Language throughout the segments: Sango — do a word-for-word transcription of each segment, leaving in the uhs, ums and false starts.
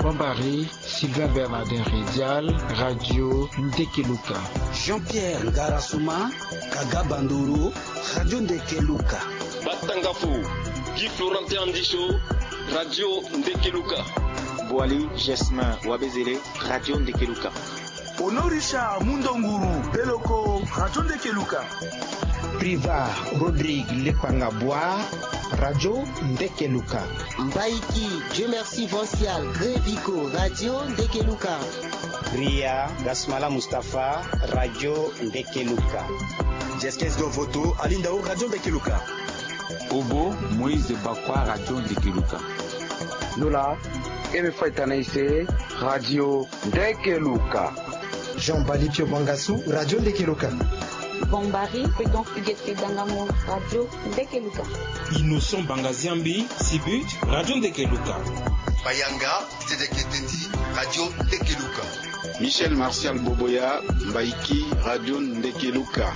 Jean-Barry, Sylvain Bernardin Ridial, Radio Ndekeluka. Jean-Pierre Ngarasuma, Kaga Bandoro, Radio Ndekeluka. Batangafo, Guy Florentin Andicho, Radio Ndekeluka. Boali Gesmin Wabezele, Radio Ndekeluka. Honoré Richard Mundonguru Beloko, Radio Ndekeluka. Priva Rodrigue Lepanga Boa, Radio Ndekeluka. Mbaiki Dieu Merci Vancial Grevico, Radio Ndekeluka. Ria Gasmala Mustapha, Radio Ndekeluka. Jeskes Dovoto Alindao, Radio Ndekeluka. Obo Moïse Bakwa, Radio Ndekeluka. Nola Eme Faitana Ise, Radio Ndekeluka. Jean Bali Pio Bangasu, Radio Ndekeluka. Bombari Prudence Huguette Dangamo, Radio Ndekeluka. Innocent Bangaziambi Sibut, Radio Ndekeluka. Bayanga Tedeke Teti, Radio Ndekeluka. Michel Martial Boboya, Mbaiki, Radio Ndekeluka.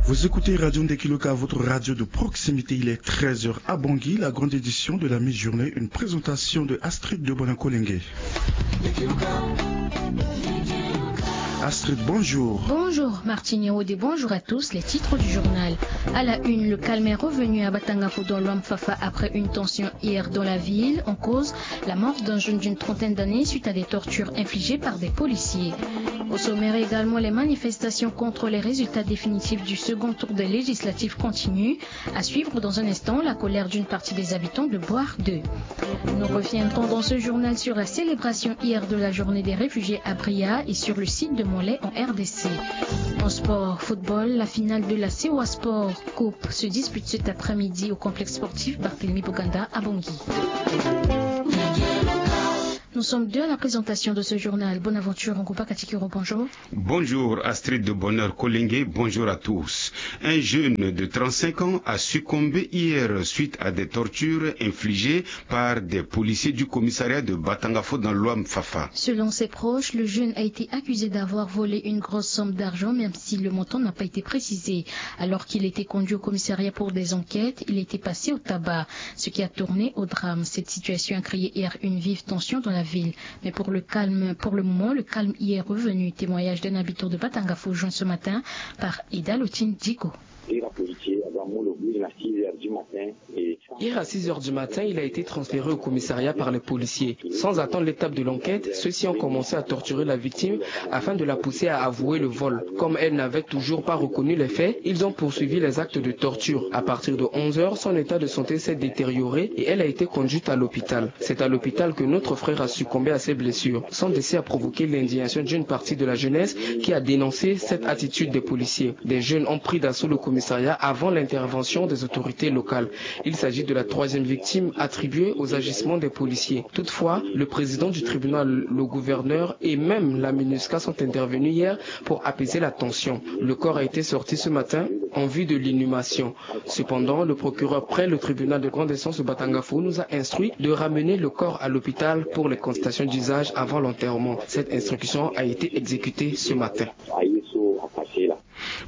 Vous écoutez Radio Ndekeluka, votre radio de proximité. Il est treize heures à Bangui, la grande édition de la mi-journée, une présentation de Astrid de Bonakolenge. Astrid, bonjour. Bonjour Martine Aude, bonjour à tous. Les titres du journal. À la une, le calme est revenu à Batangafo dans l'Ouamfafa après une tension hier dans la ville. En cause, la mort d'un jeune d'une trentaine d'années suite à des tortures infligées par des policiers. Au sommaire également, les manifestations contre les résultats définitifs du second tour des législatives continuent. À suivre dans un instant, la colère d'une partie des habitants de Boire deux. Nous reviendrons dans ce journal sur la célébration hier de la journée des réfugiés à Bria et sur le site de Montlai en R D C. En sport, football, la finale de la Sewa Sport Coupe se dispute cet après-midi au complexe sportif Barthélemy Boganda à Bangui. Nous sommes deux à la présentation de ce journal. Bonaventure Ngouba Katikiro, bonjour. Bonjour Astrid de Bonheur Kolenge, bonjour à tous. Un jeune de trente-cinq ans a succombé hier suite à des tortures infligées par des policiers du commissariat de Batangafo dans l'Ouamfafa. Selon ses proches, le jeune a été accusé d'avoir volé une grosse somme d'argent, même si le montant n'a pas été précisé. Alors qu'il était conduit au commissariat pour des enquêtes, il était passé au tabac, ce qui a tourné au drame. Cette situation a créé hier une vive tension dans la ville. Mais pour le calme, pour le moment, le calme y est revenu. Témoignage d'un habitant de Batangafo joint ce matin par Eda Lotine Diko. Hier à six heures du matin, il a été transféré au commissariat par les policiers. Sans attendre l'étape de l'enquête, ceux-ci ont commencé à torturer la victime afin de la pousser à avouer le vol. Comme elle n'avait toujours pas reconnu les faits, ils ont poursuivi les actes de torture. À partir de onze heures, son état de santé s'est détérioré et elle a été conduite à l'hôpital. C'est à l'hôpital que notre frère a succombé à ses blessures. Son décès a provoqué l'indignation d'une partie de la jeunesse qui a dénoncé cette attitude des policiers. Des jeunes ont pris d'assaut le commissariat avant l'intervention des autorités locales. Il s'agit de la troisième victime attribuée aux agissements des policiers. Toutefois, le président du tribunal, le gouverneur et même la MINUSCA sont intervenus hier pour apaiser la tension. Le corps a été sorti ce matin en vue de l'inhumation. Cependant, le procureur près le tribunal de grande instance de Batangafo nous a instruit de ramener le corps à l'hôpital pour les consultations d'usage avant l'enterrement. Cette instruction a été exécutée ce matin.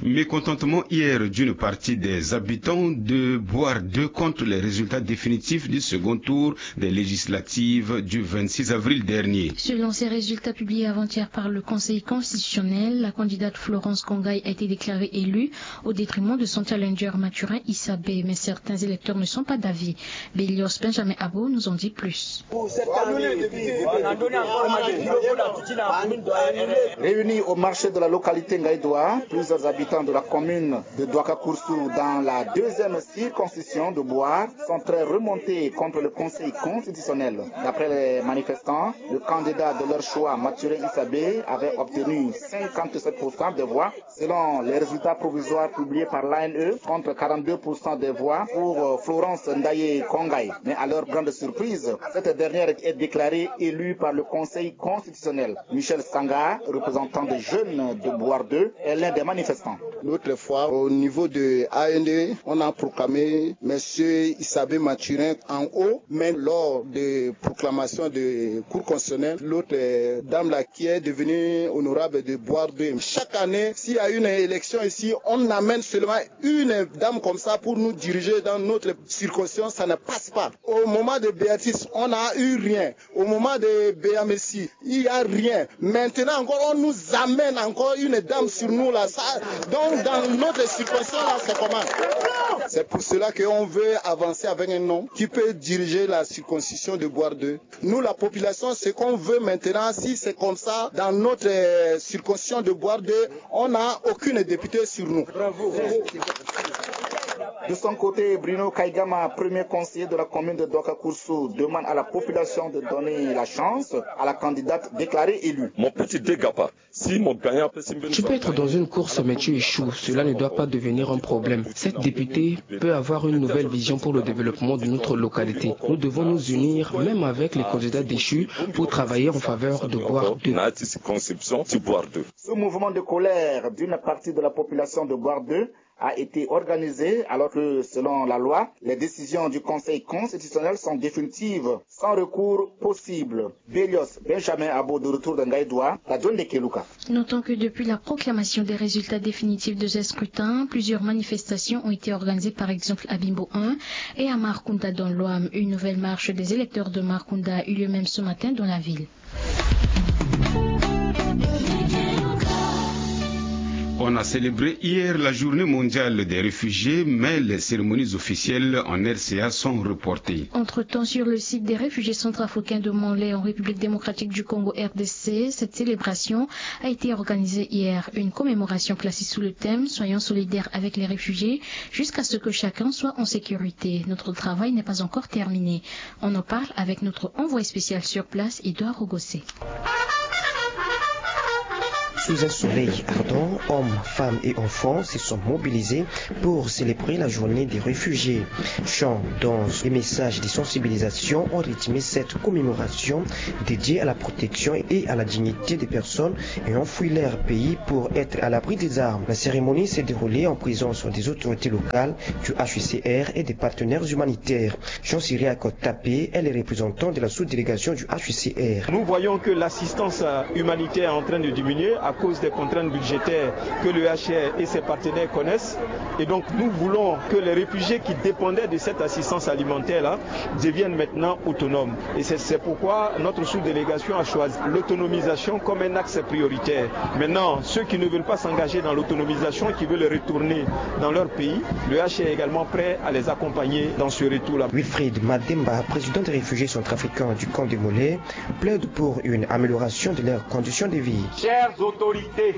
Mécontentement hier d'une partie des habitants de Boire deux contre les résultats définitifs du second tour des législatives du vingt-six avril dernier. Selon ces résultats publiés avant-hier par le Conseil constitutionnel, la candidate Florence Kongaï a été déclarée élue au détriment de son challenger Mathurin Isabé. Mais certains électeurs ne sont pas d'avis. Bélios Benjamin Abo nous en dit plus. Réunis au marché de la localité Ngaïdoua, plusieurs habitants de la commune de Douaka-Koursou dans la deuxième circonscription de Boire sont très remontés contre le Conseil constitutionnel. D'après les manifestants, le candidat de leur choix, Mathurin Isabé, avait obtenu cinquante-sept pour cent des voix. Selon les résultats provisoires publiés par l'A N E, contre quarante-deux pour cent des voix pour, euh, Florence Ndaye Kongaï. Mais à leur grande surprise, cette dernière est déclarée élue par le Conseil constitutionnel. Michel Sanga, représentant des jeunes de Boire deux, est l'un des manifestants. L'autre fois, au niveau de A N D, on a proclamé Monsieur Isabé Mathurin en haut, mais lors de proclamation de Cour constitutionnelle, l'autre, euh, dame là qui est devenue honorable de Boire deux. Chaque année, s'il y a une élection ici, on amène seulement une dame comme ça pour nous diriger dans notre circonscription, ça ne passe pas. Au moment de Béatrice, on n'a eu rien. Au moment de Béamessi, il n'y a rien. Maintenant encore, on nous amène encore une dame sur nous là. Ça, donc dans notre circonscription là, c'est comment? C'est pour cela qu'on veut avancer avec un homme qui peut diriger la circonscription de Boire deux. Nous, la population, ce qu'on veut maintenant, si c'est comme ça, dans notre, euh, circonscription de Boire deux, on n'a aucune députée sur nous. De son côté, Bruno Kaigama, premier conseiller de la commune de Douakakoussou, demande à la population de donner la chance à la candidate déclarée élue. Mon petit dégapa, si mon gagnant peut... Tu peux être dans une course, mais tu échoues. Cela ne doit pas devenir un problème. Cette députée peut avoir une nouvelle vision pour le développement de notre localité. Nous devons nous unir, même avec les candidats déchus, pour travailler en faveur de Boire deux. Ce mouvement de colère d'une partie de la population de Boire deux a été organisé alors que, selon la loi, les décisions du Conseil constitutionnel sont définitives, sans recours possible. Belios Benjamin Abo, de retour dans Gaïdoua, la zone de Keluka. Notons que depuis la proclamation des résultats définitifs de ce scrutin, plusieurs manifestations ont été organisées, par exemple à Bimbo un et à Markunda dans l'Ouham. Une nouvelle marche des électeurs de Markunda a eu lieu même ce matin dans la ville. On a célébré hier la journée mondiale des réfugiés, mais les cérémonies officielles en R C A sont reportées. Entre-temps, sur le site des réfugiés centrafricains de Monlé en République démocratique du Congo, R D C, cette célébration a été organisée hier. Une commémoration placée sous le thème « Soyons solidaires avec les réfugiés jusqu'à ce que chacun soit en sécurité. Notre travail n'est pas encore terminé. » On en parle avec notre envoyé spécial sur place, Edouard Rogossé. Sous un soleil ardent, hommes, femmes et enfants se sont mobilisés pour célébrer la journée des réfugiés. Chants, danses et messages de sensibilisation ont rythmé cette commémoration dédiée à la protection et à la dignité des personnes ayant fui leur pays pour être à l'abri des armes. La cérémonie s'est déroulée en présence des autorités locales, du H C R et des partenaires humanitaires. Jean-Cyriaque Tapé est le représentant de la sous-délégation du H C R. Nous voyons que l'assistance, euh, humanitaire est en train de diminuer à cause des contraintes budgétaires que le H C R et ses partenaires connaissent. Et donc, nous voulons que les réfugiés qui dépendaient de cette assistance alimentaire-là deviennent maintenant autonomes. Et c'est, c'est pourquoi notre sous-délégation a choisi l'autonomisation comme un axe prioritaire. Maintenant, ceux qui ne veulent pas s'engager dans l'autonomisation, qui veulent retourner dans leur pays, le H C R est également prêt à les accompagner dans ce retour-là. Wilfried Mademba, président des réfugiés centrafricains du camp de Monlé, plaide pour une amélioration de leurs conditions de vie. Chères autorités,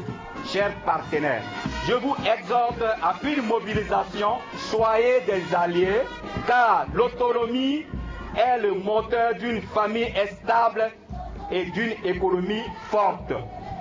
chers partenaires, je vous exhorte à une mobilisation, soyez des alliés, car l'autonomie est le moteur d'une famille stable et d'une économie forte.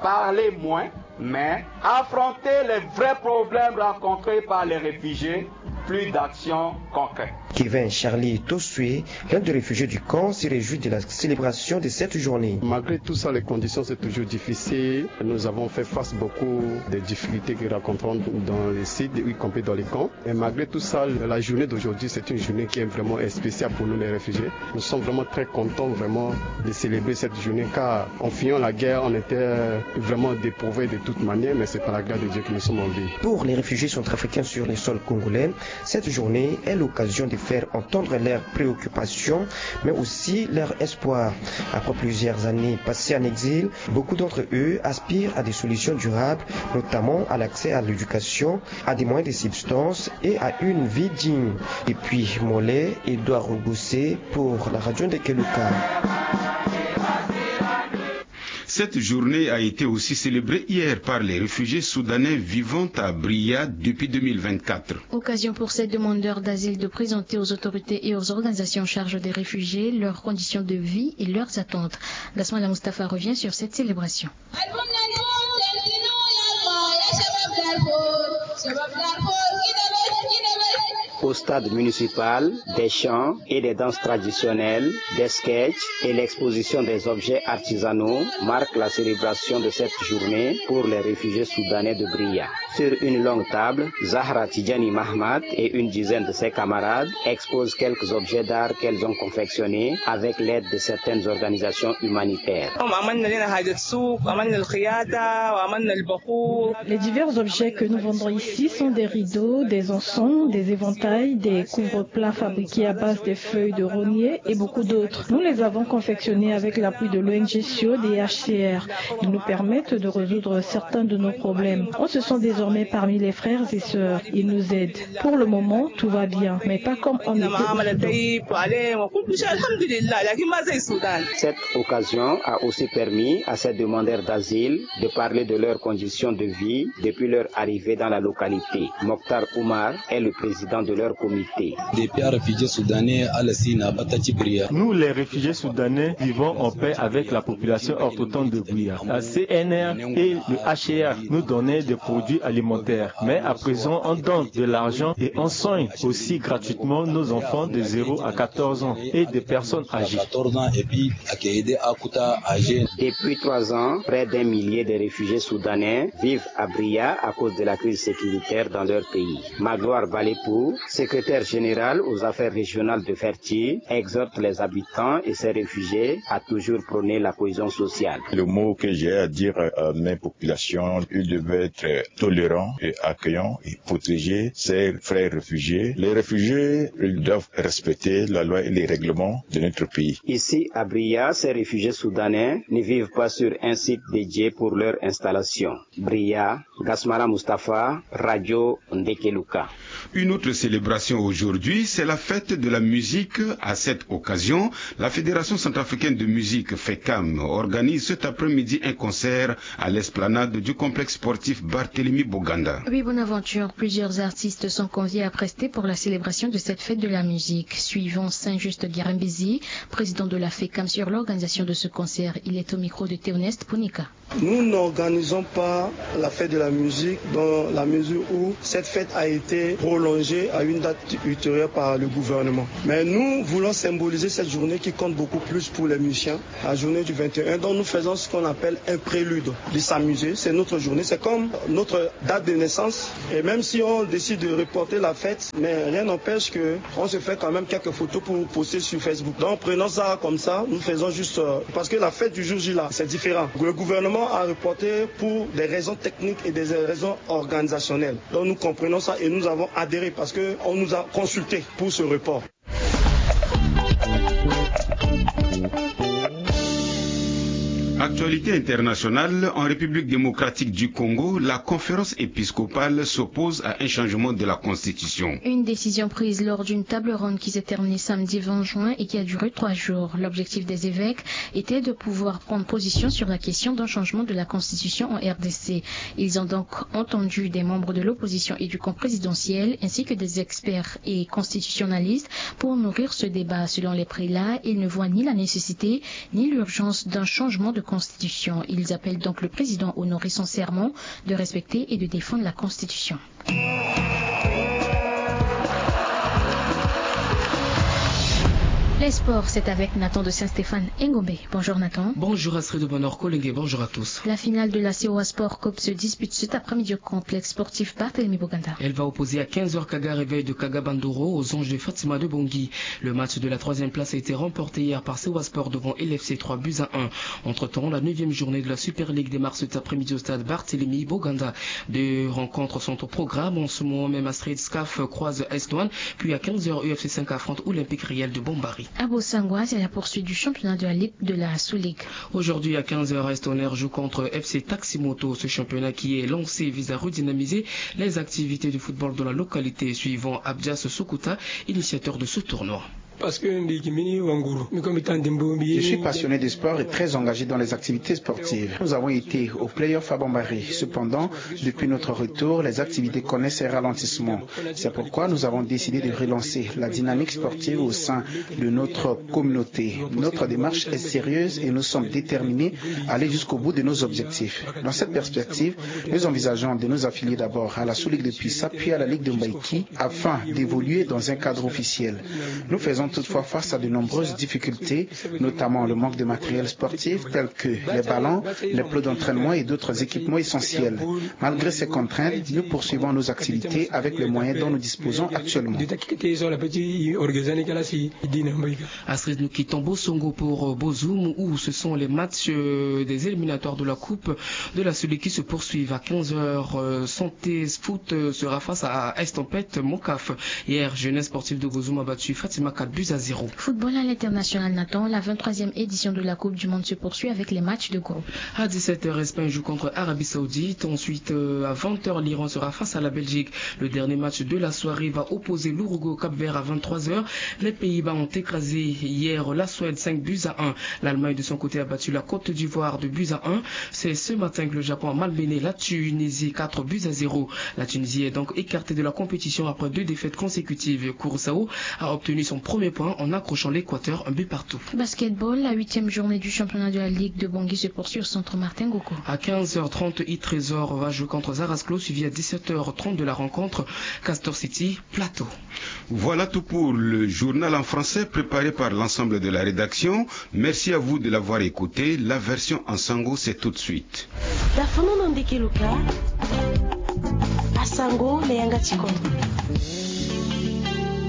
Parler moins, mais affronter les vrais problèmes rencontrés par les réfugiés, plus d'actions concrètes. Kevin Charlie Tossué, l'un des réfugiés du camp, se réjouit de la célébration de cette journée. Malgré tout ça, les conditions, c'est toujours difficile. Nous avons fait face beaucoup des difficultés que nous rencontrons dans les sites, y compris dans les camps. Et malgré tout ça, la journée d'aujourd'hui, c'est une journée qui est vraiment spéciale pour nous, les réfugiés. Nous sommes vraiment très contents, vraiment, de célébrer cette journée, car en fuyant la guerre, on était, euh, vraiment dépourvus de toute manière, mais c'est par la grâce de Dieu que nous sommes en vie. Pour les réfugiés centrafricains sur le sol congolais, cette journée est l'occasion de faire entendre leurs préoccupations, mais aussi leur espoir. Après plusieurs années passées en exil, beaucoup d'entre eux aspirent à des solutions durables, notamment à l'accès à l'éducation, à des moyens de subsistance et à une vie digne. Depuis Monlé, Edouard Rogossé pour la radio de Keluka. Cette journée a été aussi célébrée hier par les réfugiés soudanais vivant à Bria depuis deux mille vingt-quatre. Occasion pour ces demandeurs d'asile de présenter aux autorités et aux organisations en charge des réfugiés leurs conditions de vie et leurs attentes. Gasmala Mustapha revient sur cette célébration. Au stade municipal, des chants et des danses traditionnelles, des sketchs et l'exposition des objets artisanaux marquent la célébration de cette journée pour les réfugiés soudanais de Bria. Sur une longue table, Zahra Tidjani Mahmat et une dizaine de ses camarades exposent quelques objets d'art qu'elles ont confectionnés avec l'aide de certaines organisations humanitaires. Les divers objets que nous vendons ici sont des rideaux, des encens, des éventails, des couvre-plats fabriqués à base des feuilles de rognier et beaucoup d'autres. Nous les avons confectionnés avec l'appui de l'O N G Siod et H C R. Ils nous permettent de résoudre certains de nos problèmes. On se sent désormais parmi les frères et sœurs. Ils nous aident. Pour le moment, tout va bien, mais pas comme on était au Soudan. Cette occasion a aussi permis à ces demandeurs d'asile de parler de leurs conditions de vie depuis leur arrivée dans la localité. Mokhtar Oumar est le président de leur comité. Depuis les réfugiés soudanais, ala si na bata ti Bria. Nous, les réfugiés soudanais, vivons en paix avec la population autochtone de Bria. La C N R et le H C R nous donnaient des produits alimentaires. Mais à présent, on donne de l'argent et on soigne aussi gratuitement nos enfants de zéro à quatorze ans et des personnes âgées. Depuis trois ans, près d'un millier de réfugiés soudanais vivent à Bria à cause de la crise sécuritaire dans leur pays. Magloire Balepou, secrétaire général aux affaires régionales de Ferti, exhorte les habitants et ses réfugiés à toujours prôner la cohésion sociale. Le mot que j'ai à dire à mes populations, ils devaient être tolérants et accueillants et protéger ses frères réfugiés. Les réfugiés, ils doivent respecter la loi et les règlements de notre pays. Ici, à Bria, ces réfugiés soudanais ne vivent pas sur un site dédié pour leur installation. Bria, Gasmara Mustapha, Radio Ndekeluka. Une autre célébration aujourd'hui, c'est la fête de la musique. À cette occasion, la Fédération centrafricaine de musique, FECAM, organise cet après-midi un concert à l'esplanade du complexe sportif Barthélemy Boganda. Oui, Bonaventure, plusieurs artistes sont conviés à prester pour la célébration de cette fête de la musique. Suivons Saint-Just Guirembezi, président de la FECAM, sur l'organisation de ce concert. Il est au micro de Théoneste Ponika. Nous n'organisons pas la fête de la musique dans la mesure où cette fête a été prolongée à une date ultérieure par le gouvernement. Mais nous voulons symboliser cette journée qui compte beaucoup plus pour les musiciens, la journée du vingt et un, dont nous faisons ce qu'on appelle un prélude de s'amuser. C'est notre journée, c'est comme notre date de naissance. Et même si on décide de reporter la fête, mais rien n'empêche que on se fait quand même quelques photos pour poster sur Facebook. Donc prenons ça comme ça, nous faisons juste, euh, parce que la fête du jour J là, c'est différent. Le gouvernement a reporté pour des raisons techniques et des raisons organisationnelles. Donc nous comprenons ça et nous avons adhéré parce que on nous a consulté pour ce report. Actualité internationale, en République démocratique du Congo, la conférence épiscopale s'oppose à un changement de la constitution. Une décision prise lors d'une table ronde qui s'est terminée samedi vingt juin et qui a duré trois jours. L'objectif des évêques était de pouvoir prendre position sur la question d'un changement de la constitution en R D C. Ils ont donc entendu des membres de l'opposition et du camp présidentiel, ainsi que des experts et constitutionnalistes, pour nourrir ce débat. Selon les prélats, ils ne voient ni la nécessité ni l'urgence d'un changement de constitution. Ils appellent donc le président honorer son serment de respecter et de défendre la constitution. Les sports, c'est avec Nathan de Saint-Stéphane Ngombe. Bonjour Nathan. Bonjour Astrid de Bonheur Collingué, bonjour à tous. La finale de la C O A Sport Cup se dispute cet après-midi au complexe sportif Barthélemy Boganda. Elle va opposer à quinze heures Kaga Réveil de Kaga Bandoro aux Anges de Fatima de Bangui. Le match de la troisième place a été remporté hier par C O A Sport devant L F C trois buts à un. Entre-temps, la neuvième journée de la Super League démarre cet après-midi au stade Barthélemy Boganda. Deux rencontres sont au programme. En ce moment même, Astrid, SCAF croise Est Douanes, puis à quinze heures, U F C cinq affronte Olympique Réel de Bombari. À Bossangoa, c'est la poursuite du championnat de la Ligue de la Sous-Ligue. Aujourd'hui à quinze heures, Est Tonnerre joue contre F C Taximoto. Ce championnat qui est lancé vise à redynamiser les activités de football dans la localité, suivant Abdias Soukouta, initiateur de ce tournoi. Parce que mbi yeke mbeni wanguru, mbi kue mbi taa ndembo mbi. Je suis passionné de sport et très engagé dans les activités sportives. Nous avons été au playoff à Bambari. Cependant, depuis notre retour, les activités connaissent un ralentissement. C'est pourquoi nous avons décidé de relancer la dynamique sportive au sein de notre communauté. Notre démarche est sérieuse et nous sommes déterminés à aller jusqu'au bout de nos objectifs. Dans cette perspective, nous envisageons de nous affilier d'abord à la sous-ligue de Pisa, puis à la ligue de Mbaïki, afin d'évoluer dans un cadre officiel. Nous faisons toutefois face à de nombreuses difficultés, notamment le manque de matériel sportif tel que les ballons, les plots d'entraînement et d'autres équipements essentiels. Malgré ces contraintes, nous poursuivons nos activités avec les moyens dont nous disposons actuellement. Astrid, nous quittons Bosongo pour, euh, Bozoum, où ce sont les matchs, euh, des éliminatoires de la Coupe de la Suli qui se poursuivent. À quinze heures, euh, Santé Foot, euh, sera face à Estampette Mokaf. Hier, Jeunesse Sportive de Bozoum a battu Fatima quatre buts à zéro. Football à l'international, Nathan, la vingt-troisième édition de la Coupe du Monde se poursuit avec les matchs de groupe. À dix-sept heures, Espagne joue contre Arabie Saoudite. Ensuite, euh, à vingt heures, l'Iran sera face à la Belgique. Le dernier match de la soirée va opposer l'Uruguay au Cap-Vert à vingt-trois heures. Les Pays-Bas ont écrasé hier la Suède cinq buts à un. L'Allemagne, de son côté, a battu la Côte d'Ivoire deux buts à un. C'est ce matin que le Japon a malmené la Tunisie quatre buts à zéro. La Tunisie est donc écartée de la compétition après deux défaites consécutives. Curaçao a obtenu son premier point en accrochant l'Équateur un but partout. Basketball, la huitième journée du championnat de la Ligue de Bangui se poursuit au centre Martin Ngoko. À quinze heures trente, Trésor va jouer contre Zarasclo, suivi à dix-sept heures trente de la rencontre Castor City Plateau. Voilà tout pour le journal en français préparé par l'ensemble de la rédaction. Merci à vous de l'avoir écouté. La version en sango, c'est tout de suite. Dafono na ndeke luka. Asango na yanga ti kodro.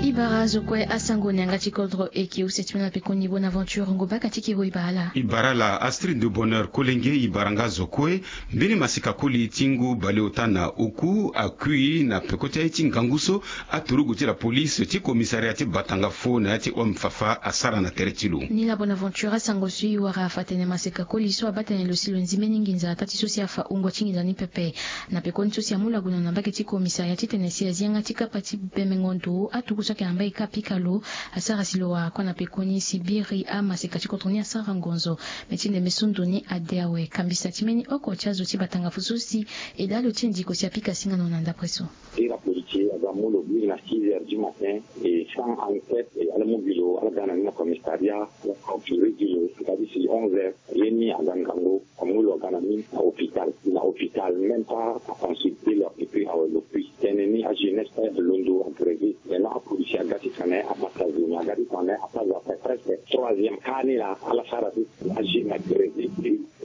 I bara zo kue, asango na yanga ti kodro e ke use ti mena pekoni Bonaventure Ngobaka ti kiro i bara ala. I bara ala Astrid de Bonheur Kolenge, i bara nga zo kue. Mbeni maseka koli ti ngu baleota na oku akui na peko ti aye ti ngangu so aturugu ti la police ti commissariat ti Batanga fo na ya ti Home Fafa asara na tere ti lo. Ni la Bonaventure, asango so i wara afa tene maseka koli so abaa tene lo si lo nzi mbeni nginza ataa ti so si afa wungo ti nginza ni pepe. Na pekoni so si amu lagono na mbage ti commissariat titene si azi yanga ti kapa ti bembengo ndo atuku so ayeke na mbage ka apika lo, asara si lo wara kue na pekoni si biri amaseka ti kodro ni asara ngonzo. Me ti ndembe so ndo ni ade awe, kambisa ti mbeni oko ti azo ti Batanga fo so si e daa lo ti ndiko si apika singano na ndapre so. Iri apolisier aga mu lo biri na six heures du matin, e sans enquête, e ala mu gi lo ala ga na ni na commissariat, ala torture gi lo ata ti si onze heures. Ye ni aga ngangu, amu lo aga na ni na hôpital, na hôpital même pas aconsulter lo, et puis awe lo puis. Tënë ni ajeunesse pe alondo agrévé. Maintenant apolisier aga ti tene abata zo ni, aga ti tene apaza ape presque troisième cas ni laa ala sara ti. Ajeune agrévé.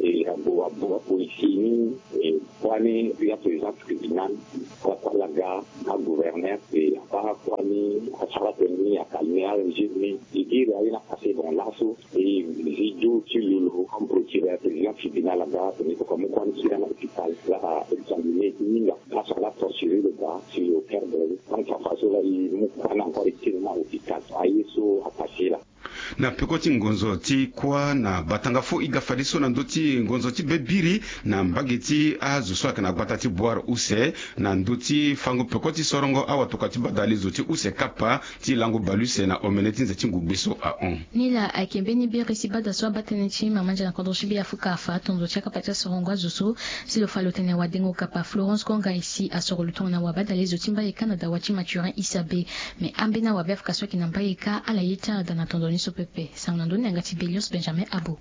E abo abo apolisier ni, e kua ni puis aprésident tribunal, kua kua ala ga, agouverneur, e abaa kua ni asara tënë ni, acalmer ajeune ni. E iri aye ni apase bon laso. E zi du ti lo lo comme procureur, président tribunal aga tene koko amu kua ni ti ga na hôpital, ala examiner ti hinga. Laso ala torture lo ga si lo perdre. Tant que façon la e mu kua ni encore e ti lo na hôpital. Aye so apase laa. Na peko ti ngonzo ti kua na Batanga fo e ga fadeso na ndö ti ngonzo ti be biri na mbage ti azo so ayeke na gbata ti Boire use, na ndö ti fango peko ti sorongo awatokua ti badalezo ti use kapa ti lango bale use na omene ti nze ti ngugbe so ahon. Ni laa ayeke mbeni biri si bada so abaa tënë ti mama ndia na kodro ti Beafrika afa atondo ti akapa ti asorongo azo so si lo fa lo tene wadengo kapa Florence Konga isi asoro lo tongana wabadalezo ti mbaye ka na dawa ti Mathurin Issabe. Me ambeni awabe afrika so ayeke na mbaye ka ala ye ti ala daa na tondo ni so pepe. Sango na ndö ni na yanga ti Belius Benjamin Abo.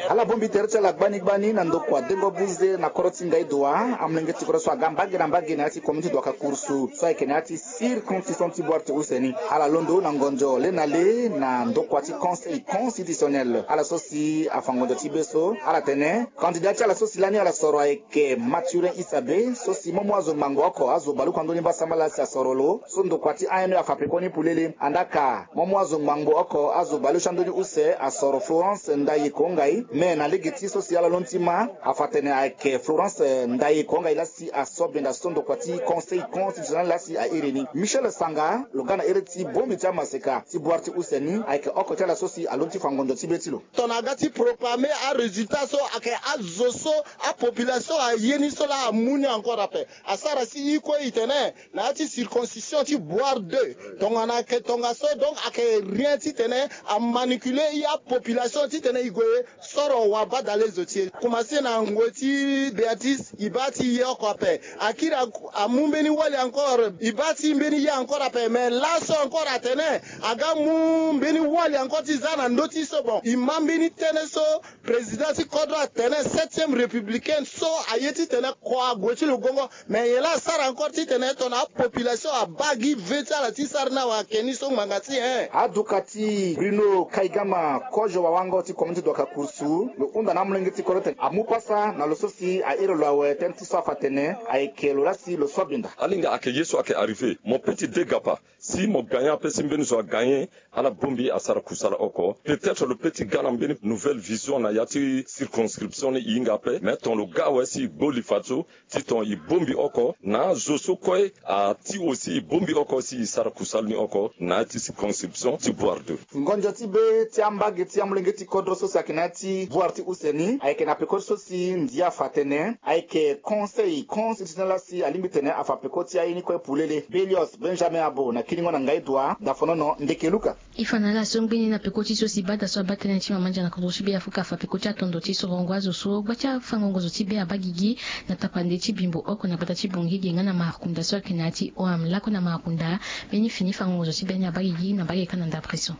Ala bongbi tere ti ala gbani gbani na ndokua Dengo Buze na kodro ti Ngaï Doua, amolenge ti kodro so aga mbage na mbage na ya ti commune ti Douaka Kouroussou so ayeke na ya ti circonscription ti Boire ti use ni. Ala londo na ngonzo le na le na ndokua ti Conseil constitutionnel. Ala so si afa ngonzo ti be so, ala tene candidat ti ala so si lani ala soro ayeke Mathurin Issabe, so si mo mu azo ngbangbo oko, azo baleoko na ndö ni mbasambala si asoro lo. So ndokua ti A N E afa pekoni polele, andaa ka mo mu azo ngbangbo oko azo baleuse ando ni use asoro Florence Ndaye Kongai, me na lege ti so si ala londo ti ma afa tene ayeke Florence Ndaye Kongai laa si asobenda so ndokua ti Conseil constitutionnel laa si airi ni. Michel Sanga lo ga na iri ti bongbi ti amaseka ti bwar ti use ni ayeke oko ti ala so si alondo ti fa ngonzo ti be ti lo. Tongana aga ti proclamer arésultat so ayeke azo so apopulation aye ni so laa amu ni encore ape. Asara si i kue i tene na ya ti circoncision ti bwar deux, tongana ayeke tongaso, donc ayeke rien titene amanipuler i apopulation titene i gue soro wabadale zo ti e. Commencer na ngoi ti Béatrice, i baa ti ye oko ape. Akiri amu mbeni wali encore, i baa ti mbeni ye encore ape. Mais laso encore atene aga mu mbeni wali encore ti za na ndö ti so. Bon, i ma mbeni tënë so président ti kodro atene septième républicaine so aye titene kua ague ti lo gongo. Mais nyen laa asara encore titene tongana apopulation abaa gi ve ti ala ti sara ni awa ayeke ni so ngbanga ti nyen? Aduka ti Bruno Kaigama, kozo wawango ti commune ti Douakha Kouroussou, lo hunda na amolenge ti kodro tene amu pasa na lo so si airi lo awe tënë ti so afa tene ayeke lo laa si lo so abinda. Alinga ayeke ye so ayeke arrivé, mo peut ti dégapa. Si mo gagner ape, si mbeni zo agagner, ala bongbi asara kusala oko. Peut-être lo peut ti ga na mbeni nouvelle vision na ya ti circonscription ni, e hinga ape. Mais tongana lo ga awe si e gbo li fadeso, ti tongana e bongbi oko na azo so kue ati aussi, e bongbi oko si e sara kusala ni oko na ya ti circonscription ti Bouar deux. Ngonzo ti be ti ambage ti amolenge ti kodro so si ayeke na ya ti Bouar ti use ni ayeke na peko so si ndia afa tene ayeke Conseil constitutionnel laa si alingbi tene afa peko ti aye ni kue polele. Belios Benjamin Abo na kiringo na Ngaï Doua, Dafonono, Ndeke Luka. E fa na ala so ngbene na peko ti so si bada so abaa tënë ti mama ndia na kodro ti Be Afrika afa peko ti atondo ti sorongo azo so gba ti afangongo zo ti be abaa gigi na tapande ti bimbo oko na gbata ti Bangui ge nga na marakunda so ayeke na ya ti O M. Lakue na marakunda, mbeni fini fangongo zo ti be ni abaa gigi na mbage kâ na ndapre so.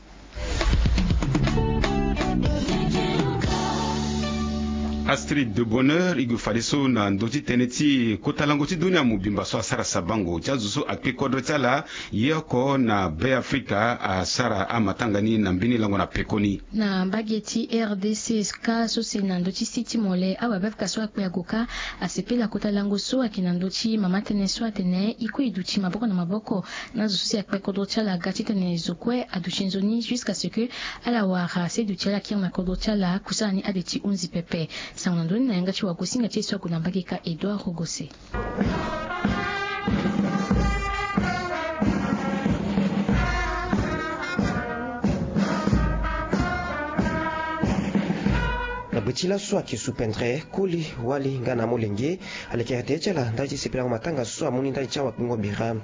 Astrid de Bonheur, e gue fadeso na ndö ti tënë ti kota lango ti dunia mobimba so asara sabango ti azo so akpe kodro ti ala ye oko na Be Afrika asara amatanga ni na mbeni lango na pekoni. Na mbage ti R D C kâ so si na ndö ti si ti mole, awa Be Afrika so akpe ago kâ asepela kota lango so ayeke na ndö ti mama tënë so atene e kue e duti maboko na maboko na azo so si akpe kodro ti ala ga titene zo kue aduti nzoni jusqu'à ce que ala wara se duti ala kiri na kodro ti ala, kusala ni ade ti hunzi pepe. Sango na ndö ni na yanga ti wagosinga ti e so ague na mbage kâ, Edouard Rogose. Na gbe ti laso ayeke supendre koli wali nga na amolenge alekere tere ti ala ndali ti sepelango matanga so amu ni ndali ti awakpengo bira.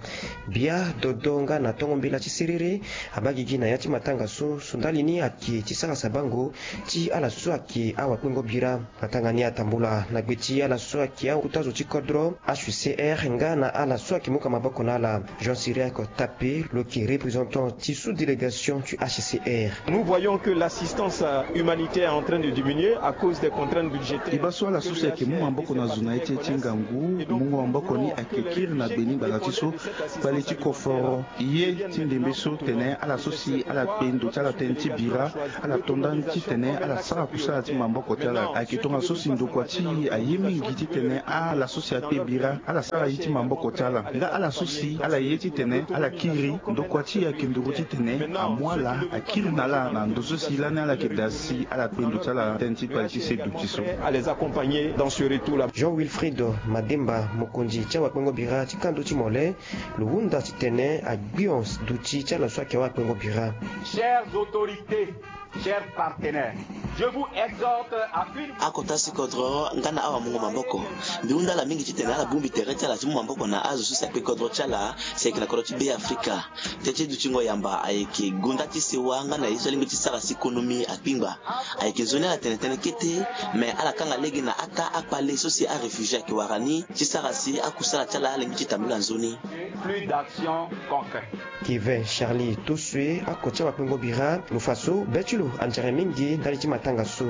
Bia, dodo nga na tongo mbela ti siriri abaa gigi na ya ti matanga so. So ndali ni ayeke ti sara sabango ti ala so ayeke awakpengo bira. Matanga ni atambula na gbe ti ala so ayeke akota zo ti kodro H C R nga na ala so ayeke muka maboko na ala. Jean Cyriaque Tapé, lo yeke représentant ti sous-délégation ti H C R. Nous voyons que l'assistance, euh, humanitaire est en train de diminuer à cause des contraintes budgétaires. E baa so ala so si ayeke mu maboko na zo na ya ti, ti ngangu, mungo maboko ni ayeke kiri na gbe ni ngbanga ti so, kpale ti koforo. Ye ti ndembe so tene ala so si ala kpe ndo ti ala tënë ti bira, ala to ndani titene ala sara kusala ti maboko ti ala. Ayeke tongaso si ndokua ti e aye mingi titene ala so si akpe bira ala sara ye ti maboko ti ala. Nga ala so si ala ye titene ala kiri, ndokua ti e ayeke nduru titene amu ala akiri na ala na ndo so si lani ala yeke daa si ala kpe ndo ti ala tënë ti kpale ti se duti so. À les accompagner dans ce retour-là. Jean Wilfried Mademba, mokonzi ti awakpengo bira ti kando ti mole, lo hunda titene agbion duti ti ala so ayeke awakpengo bira. Chères autorités, chers partenaires, je vous exhorte à une... Akota si kodro nga na awamungo maboko, mbi hunda ala mingi titene ala bongbi tere ti ala ti mu maboko na azo so si akpe kodro ti ala si ayeke na kodro ti Be Afrika. Tënë ti dutingo yamba ayeke gonda ti sewa nga na ye so alingbi ti sara si konomi akpingba. Ayeke nzoni ala tene tënë kete, me ala kanga lege na aka akpale so si aréfugié ayeke wara ni ti sara si akusala ti ala alingbi ti tambula nzoni. Plus d'action concrète. Kevin Charlie Tosue, ako ti awakpengo bira, lo fa so be ti lo Anzere mingi ndali ti matanga so.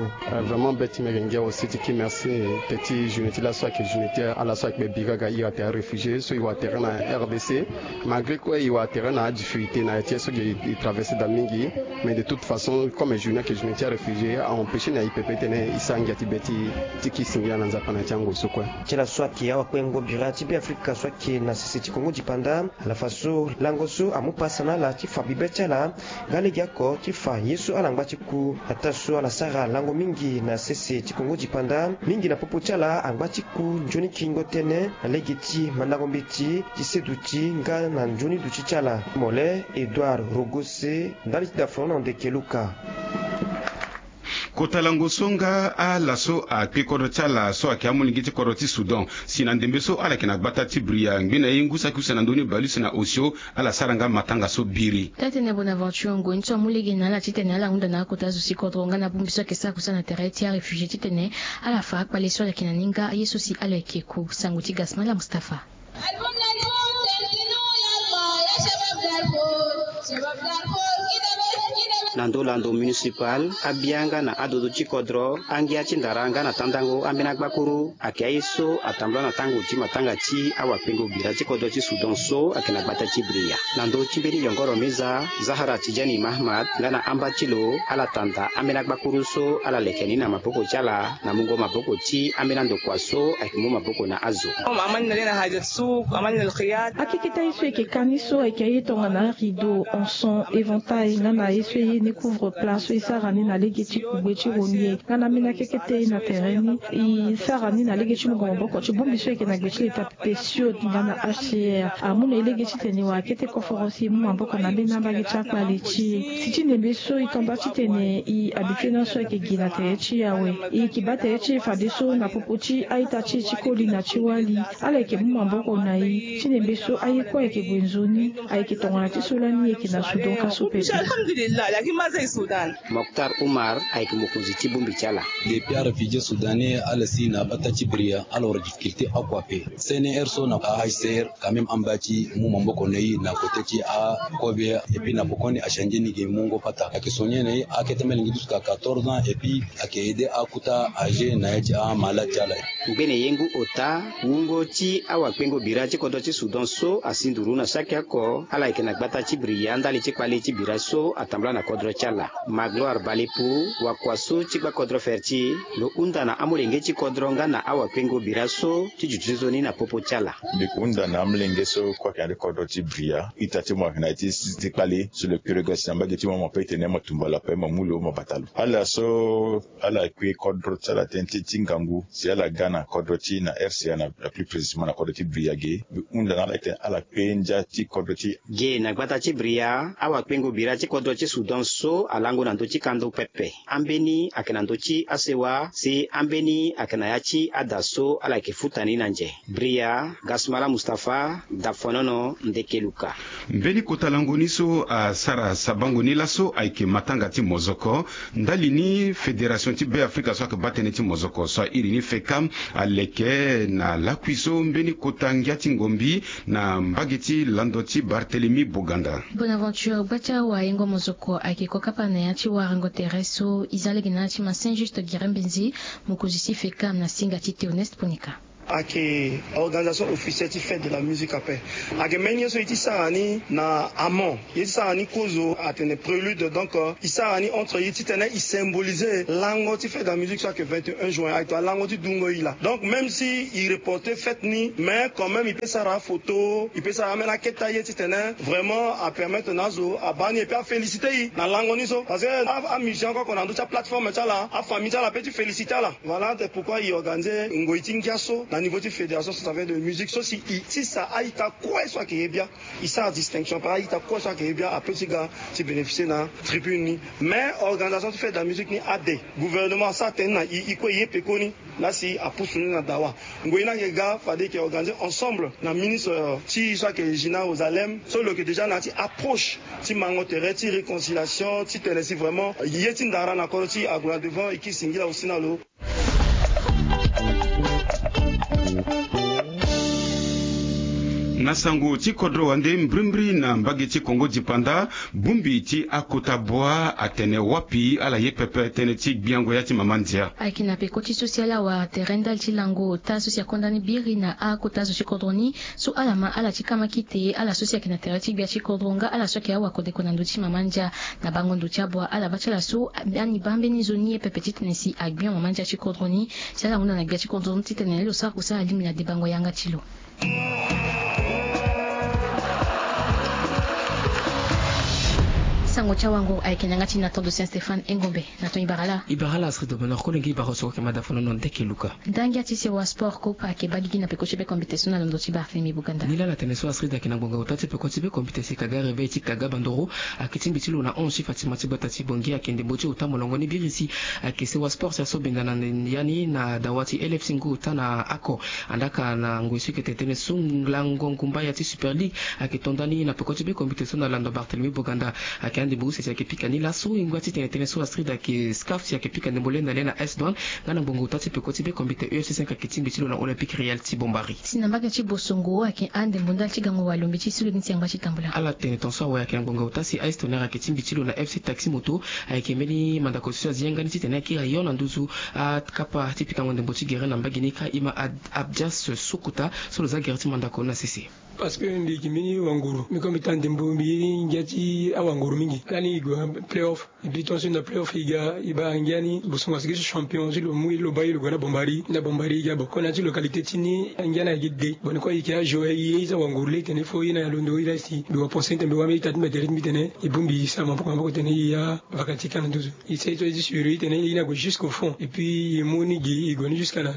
Vraiment be ti mege ngia aussi ti ki merci. Te ti journée ti laso ayeke journée ti ala so ayeke be bira ga iri atere aréfugié so e wara tere na R D C. Malgré kue e wara tere na adifficulté na ya ti ye so gi e traversé daa mingi. Mais de toute façon comme journée ayeke journée ti aréfugié a empêché na e pepe titene e sara ngia ti be ti ti ki singila na nzapa na ya ti ango so kue. Ti ala so ayeke awakpengo bira ti Beafrika so ayeke na sese ti Kongo dipanda. Ala fa so lango so amu pasa na ala ti fa bibe ti ala nga legeoko ti fa ye so ala ngba ti ku. Ataa so ala sara lango mingi na sese ti Kongo dipanda mingi na popo ti ala angba ti ku nzoni kiringo tënë na lege ti mandango mbeti ti seduti nga na nzoni duti ti ala. Mole Edouard Rogose ndali ti dafono na ndeke Luka. Kota lango so nga ala so akpe kodro ti ala so ayeke amolenge ti kodro ti Soudan si na ndembe so ala yeke na gbata ti Bria ngbe na ye ngu saki use na ndö ni bale use na osio. Ala sara nga matanga so biri. Taa-tënë Bonaventure ngoi ni so amu lege na ala titene ala hunda na akota zo si kodro nga na bongbi so ayeke sara kusala na tere ti aréfugié titene ala fa akpale so ala yeke na ni nga aye so si ala yeke ku. Sango ti Gasmala Mustapha. Na ndö lando municipal abia nga na adodo ti kodro angia ti ndara nga na tandango ambeni agbakuru. Ayeke aye so atambula na tango ti matanga ti awakpengo bira ti kodro ti Soudan so ayeke na gbata ti Bria. Na ndö ti mbeni yongoro meza Zahara Tidjani Mahamat nga na amba ti lo ala tanda ambeni agbakuru so ala leke ni na maboko ti ala na mungo maboko ti ambeni andokua so ayeke mu maboko na azo. Akeketa ye so e yeke ka ni so ayeke aye tongana rideau, anson, éventail nga na ye so e ye ni couvre plat so e sara ni na lege ti kugbe ti ronye. Nga na ambeni akekete ye na tere ni e sara ni na lege ti mungo maboko ti bongbi so e yeke na gbe ti leta pepe siod nga na H C R amu na e lege titene e wara kete koforo si e mu maboko na ambeni ambage ti akpale ti e. Si ti ndembe so e tanda titene e habite na so ayeke gi na tere ti e awe. E yeke baa tere ti e fadeso na popo ti a-ita ti e ti koli na ti wali. Ala yeke mu maboko na e ti ndembe so aye kue ayeke gue nzoni. Ayeke tongana ti so lani e yeke na Soudan ka so pepe. Moktar Umar ayeke mokonzi ti bongbi ti ala. Depuis aréfugié soudanais ala si na bata ti Bria ala wara difficulté akua ape. C N R so na H C R quand même amba ti mu maboko na e na kote ti akobe. Et puis na pokoni achangé ni gi mungo pata ayeke sonye na e akete melenge ti jusqu'à quatorze ans et puis ayeke aidé akuta âgé na ya ti amalade ti ala. Ngbene ye ngu ota wungo ti awakpengo bira ti kodro ti Soudan so asi nduru na saki oko ala yeke na gbata ti Bria ndali ti kpale ti bira so atambula na kodro ti ala. Magloire Balepu wakua so ti gbakodro Ferti lo hunda na amolenge ti kodro nga na awakpengo bira so ti duti nzoni na popo ti ala. Mbi hunda na amolenge so kue ayeke na ya ti kodro ti Bria ita ti mo ayeke na ya ti si ti kpale so lo kiri ga si na mbage ti mo mo pe tene mo tumba lo ape mo mu lo mo bata lo ala so ala kue kodro ti ala tënë ti ngangu si ala ga na kodro ti na R C A na plus précisément na kodro ti Bria ge. Mbi hunda na ala titene ala kue ndia ti kodro ti. Ge na gbata ti Bria awakpengo bira ti kodro ti Soudan so alango na ndö ti kando pepe. Ambeni ayeke na ndö ti asewa si ambeni ayeke na ya ti ada so ala yeke futa ni na nze. Bria, Gasmala Mustapha, Dafonono, Ndeke Luka. Mbeni kota lango ni so asara sabango ni laso ayeke matanga ti mozoko. Ndali ni fédération ti Beafrika so ayeke baa tënë ti mozoko so airi ni FECAM aleke na lakui so mbeni kota ngia ti ngombi na mbage ti lando ti Barthélemy Boganda. Bonaventure gba ti awayengo mozoko ayeke kokapa na ya ti warango tere so e za lege na ala ti ma Saint Juste Girembenzi, mokonzi ti FECAM na singa ti Théoneste Ponika. Ayeke organisation officielle ti fête de la musique ape. Ayeke mbeni ye so e ti sara ni na amont ye ti sara ni kozo atene prélude donc e sara ni entre ye titene e symboliser lango ti fête de la musique so ayeke vingt et un juin ayeke to alango ti dungo e la. Donc même si e reporter fête ni mais quand même e peut sara photo e peut sara ambeni aketa ye titene vraiment apermettre na azo abaa ni et puis aféliciter e na lango ni so parce que amusicien kue oko na ndö ti aplateforme ti ala afamille ti ala peut ti féliciter ala. Voilà c'est pourquoi e organiser ngoi ti ngia so na niveau ti fédération centrafricaine de musique so si e tisa a-ita kue so ayeke ye bia. E sara distinction par a-ita kue so ayeke ye bia ape ti ga ti bénéficier na tribune ni. Mais organisation ti fête de la musique ni ade gouvernement asara tënë na e e kue e ye pekoni. Laa si apusu ni na dawa ngoi ni ayeke ga fade e yeke organiser ensemble na ministre ti e so ayeke Gina Ozalem so lo yeke déjà na ya ti approche ti mango tere ti réconciliation titene si vraiment ye ti ndara na kodro ti e ague na devant e kiri singila aussi na lo. Na sango ti kodro wande mbrimbri na mbage ti Kongo dipanda, bongbi ti akota bua atene wapi ala ye pepe tënë ti gbiango ya ti mama ndia. Ayeke na peko ti so si ala wara tere ndali ti lango ota so si akonda ni biri na akota zo ti kodro ni, so ala ma ala ti kama kite ala so si ayeke na tere ti gbia ti kodro nga ala so ayeke awakodeko na ndö ti mama ndia. Na bango ndo ti abua ala baa ti ala so, ani baa mbeni nzoni ye pepe titene si agbion mama ndia ti kodro ni. Si ala hunda na gbia ti kodro ni titene lo sara kusala alingbi na debango yanga ti lo. Sango ti awango ayeke na yanga ti na tando Saint Stéphane Engombe. Na ton ibara la. Ibara la Astrid de Bonheur, kolenge ibara so ayeke mada fano na ndeke luka. Ndangia ti sewa sport coop ayeke baa gigi na peko ti be kombite so na londo ti Barthélemy Boganda. Ni laa ala tene so Astrid ayeke na ngbonga ota ti peko ti be kombite si kaga réveil ti kaga bandoro ayeke tingbi ti lo na onze ti Fatima ti gbata ti Bangui ayeke ndembo ti ota molongo ni biri si ayeke sewa sport si asobenda na ya ni na dawa ti L F C ngu ota na ako. Andaka na ngoi so eke tene tënë so lango ngumba ya ti Super League ayeke to nda ni na peko ti be kombite so na lando Barthélemy Boganda. Ayeke ande mbi use si ayeke pika ni laso e ngba ti tene tënë so Astrid ayeke scaf si ayeke pika ndembo le na le na S Douanes nga na ngbonga ota ti peko ti be kombite U F C cinq ayeke tingbi ti lo na Olympique Real ti Bombari. Si na mbage ti Bosongo ayeke ande mbo ndali ti gango walo mbi ti sulu ni si angba ti tambula. Ala tene ton so awe ayeke na ngbonga ota si A S Tonnerre ayeke tingbi ti lo na F C Taxi Moto. Ayeke mbeni mandako so azi yanga ni titene akiri ayo na nduzu akapa ti pikango ndembo ti gere na mbage ni kâ e ma Abdias Sokuta so lo za gere ti mandako na sese. Parce que mbi yeke mbeni wanguru, mbi kue mbi taa ndembo, mbi yeri ngia ti awanguru mingi. Lani e gue na playoff, e bi tongaso na playoff e ga e baa ngia ni Bosongo asigi so champion ti lo mu e lo baa e lo gue na Bombari, na Bombari e ga. Bon, kona ti localité ti ni ngia ni ayeke de. Bon, ni kue e yeke ajour e ye e za wanguru le tene fo e na ya londo e laa si mbi wa pensé tene mbi wa mbeni ita ti mbi tere ti mbi tene e bongbi e sara maboko maboko tene e ya vaka ti ka na nduzu. E sara e so e ti suivre e tene e na gue jusqu'au fond et puis e mu ni gi e gue ni jusqu'à na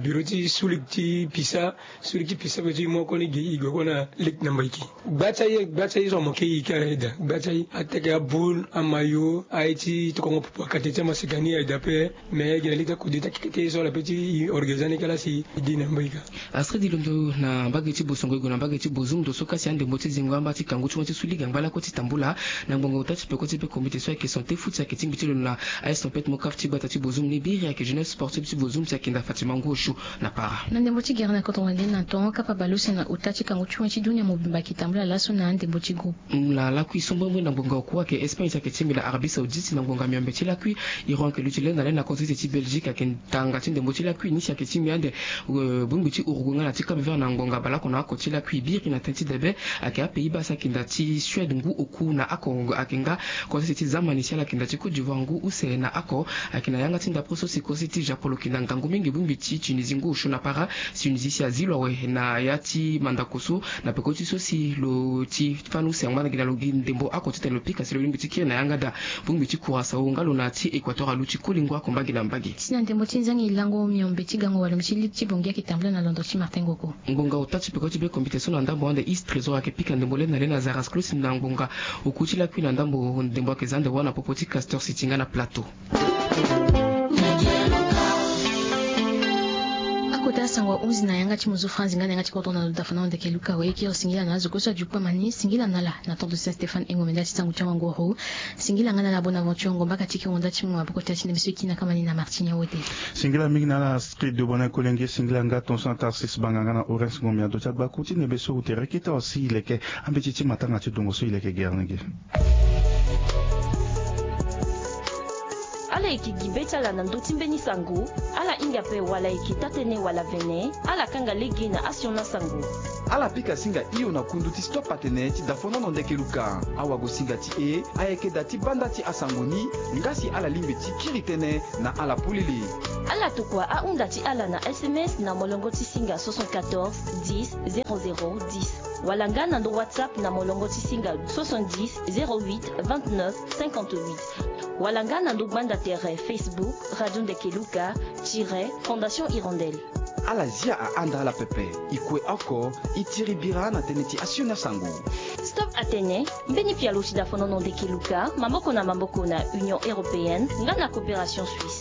bureau ti sulik ti pisa. Suri ti pisa pe ti moko ni gi e gue kue na lege na mbaiki. Gba ti aye, gba ti aye so amoke e kara aye daa. Gba ti aye ateke aboule, amayo, aye ti tokongo popo akate ti amaseka ni aye daa pe. Me e gi na lege ti akode ti akeke ti aye so ala pe ti e organiser ni kala si e di na mbaika. Astrid e londo na mbage ti Bosongo e gue na mbage ti Bozumdo so kasi andembo ti zingo amba ti kangu ti mo ti su lege angba lakue ti tambula. Na ngbonga ota ti peko ti be komite so ayeke sante futi ayeke tingbi ti lo na aye tempête mo kaf ti gbata ti Bozum ni biri ayeke jeunesse sportive ti Bozum si ayeke nda Fatima Ngosho. Na para. Na ndembo ti gere na kodro wande na tongo kapa bale use na ota ti kangu ti wen ti dunia mobimba ayeke tambula laso na andembo ti groupe. Na lakui so mbirimbiri na ngbonga oku ayeke Espagne ti ayeke tingbi na Arabie Saoudite na ngbonga miombe ti lakui. Iran ayeke luti le na le na konsese ti Belgique ayeke tanga ti ndembo ti lakui ni si ayeke tingbi ande bongbi ti Uruguay nga na ti Cap Vert na ngbonga baleoko na oko ti lakui biri na tënë ti debe. Ayeke aPays-Bas si ayeke nda ti Suède ngu oku na oko ayeke nga konsese ti Zamani si ala yeke nda ti Côte d'Ivoire ngu use na oko. Ayeke na yanga ti ndapre so si konsese ti Japon lo yeke na ngangu mingi bongbi ti Tunisie ngu osio na para. Tunisie si azi lo awe na ya ti mandako so na peko ti so si lo ti fani use angba na gi na lo gi ndembo oko titene lo pika si lo lingbi ti kiri na yanga daa. Bongbi ti Curaçao nga lo na ti Équateur aluti koli ngu oko mbage na mbage. Si na ndembo ti nzangi lango miombe ti gango walo mbi ti ligue ti Bangui ayeke tambula na londo ti Martin Ngoko. Ngbonga ota ti peko ti be komite so na ndambo ande Is Trésor ayeke pika ndembo le na le na Zarasclos na ngbonga oku ti lakui na ndambo ndembo ayeke za ande wâ na popo ti Castor City nga na Plateau. Akota sango ahunzi na yanga ti mozo Franz nga na yanga ti kodro na lo dafa na lo ndeke Luka Wayekiro. Singila na azo kue so adi kpama ni. Singila na ala na temps de Saint Stéphane Engombe nda ti sango ti awanguru. Singila nga na ala Bonaventure Ngomba ka ti kiri nda ti mu maboko ti ala ti nde mbi so e kiri na kama ni na Martini Awote. Singila mingi na ala Astrid de Bonheur Kolenge. Singila nga ton so na Tarsis Banga nga na Horace Ngombe na ndo ti agbaku ti nde mbi so e tere kete awa si e leke ambeti ti matanga ti dongo so e leke gere na ge. Ala yeke gi be ti ala na ndö ti mbeni sango. Ala hinga ape wala e yeke taa-tënë wala vene, ala kanga lege na asioni asango. Ala pika singa hio na kundu ti Stop Atene ti dafonono ndeke luka. Awagosinga ti e ayeke da ti banda ti asango ni. Nga si ala lingbi ti kiri tënë na ala polele, ala tokua ahunda ti ala na S M S na molongo ti singa soixante-quatorze dix zéro zéro dix, wala nga na ndo WhatsApp na molongo ti singa soixante-dix zéro huit vingt-neuf cinquante-huit, wala nga na ndo gbanda tere Facebook Radio Ndeke Luka tiret Fondation Hirondelle. Ala zia ahanda ala pepe. E kue oko, e tiri bira na tënë ti asioni asango. Stop Atene, mbeni pialo ti dafonono ndeke luka, maboko na maboko na Union Européenne nga na Coopération Suisse.